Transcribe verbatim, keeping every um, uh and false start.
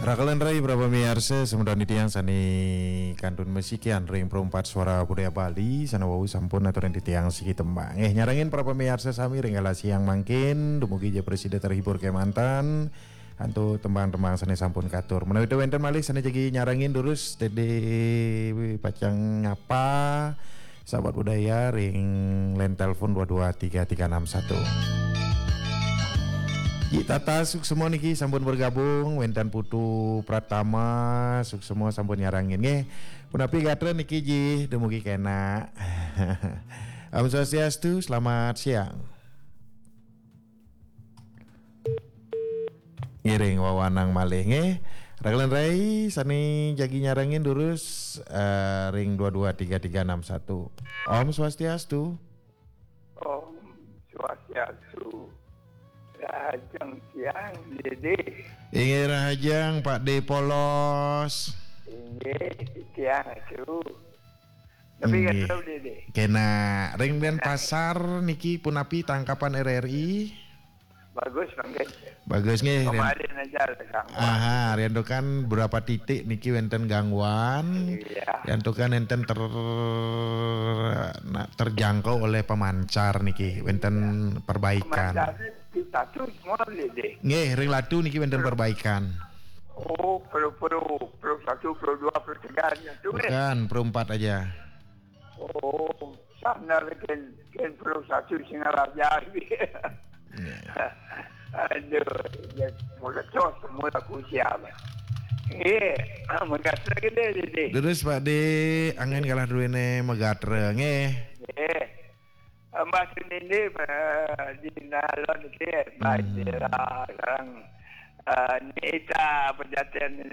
Rakelan rai para pamiarsa, semeton titiang sane kantun masikian ring Perempat Suara Budaya Bali, sane wau sampun aturin titiang siki tembang. Eh, nyarengin para pamiarsa sami ring galah siang mangkin, dumugi ja prasida terhibur kemanten, antuk tembang-tembang sane sampun katur. Menawi wenten malih sane jagi nyarengin durus, Dede pacang nyapa, sahabat budaya ring line telepon dua dua tiga tiga enam satu. Ji Tata Suksma niki sampun bergabung, wenten Putu Pratama Suksma sampun nyarengin nggih. Punapi gatra niki Ji, dumugi kena. Om Swastiastu, selamat siang. Ngiring wawanang malih nggih. Rakelan rai sane jagi nyarengin durus, eh, ring dua dua tiga tiga enam satu. Om Swastiastu. Om Swastiastu. Rahajeng siang, Dede. Inggih rahajeng, Pak De Polos. Inggih, siang, Acu. Tapi inggih. Kata Dede. Kena ring Denpasar niki punapi tangkapan R R I? Bagus, mangkin. Bagus nggih, Rian. Kemarin aja ada gangguan. Aha, riantukan berapa titik niki wenten gangguan. Iya. Riantukan enten ter-, na-, terjangkau oleh pemancar niki, wenten perbaikan. Pemancarnya di satu semua, Dede. Nggih, ring Latu niki wenten perbaikan. Oh, Pro, Pro, Pro satu, Pro dua, Pro tiga, nya tu, eh. Bukan, Pro empat aja. Oh, sana ken, ken Pro satu Singaraja. Iya. Aduh, ya, mula cos, mula kusial. Eh, ah, makasih lagi deh, deh, deh. Terus, Pak De, angin kalah duene magatra, nggih. Eh, Mbak Senindi, eh, di Nalon, nggih, Mbak Dera, sekarang, eh, Nita, Pejaten,